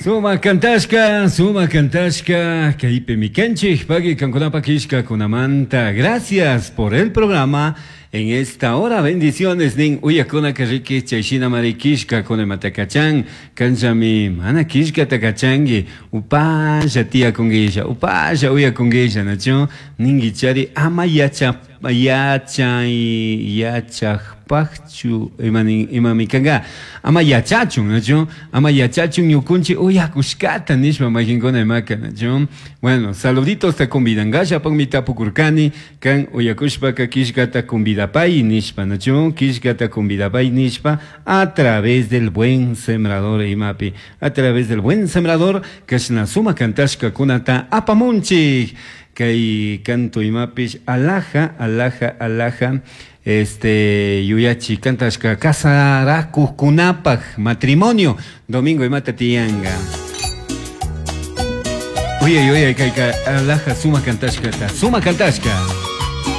Sumak kantashka, sumak kantashka, kaypimi kanchik, pagui kankunapak killkakunamanta. Gracias por el programa. En esta hora, bendiciones nin uyakunaka riki chay shinamari killkakuna imata kachan, kanllami mana killkata kachanki, upalla tiyakunguilla, upalla uyakunguilla, nachu? Ninguichari ama yacha yachay yachajpajchu ima nin imami kanga ama yachachun nachu ama yachachun ñukunchik uyakushkata nishpa mayqinkuna imaka nachu bueno saluditos ta convidankallapakmi tapukurkani kan uyakushpaka killkata convidapay nishpa nachu killkata convidapay nishpa a través del buen sembrador imapi a través del buen sembrador kashna sumak kantashkakunata apamunchik kay canto imapish alhaja alhaja alhaja este yuyachi kantashka kasarakuqkunapaq matrimonio domingo imata tiyanka uyay uyay kayka alhaja sumak kantashkata sumak kantashka.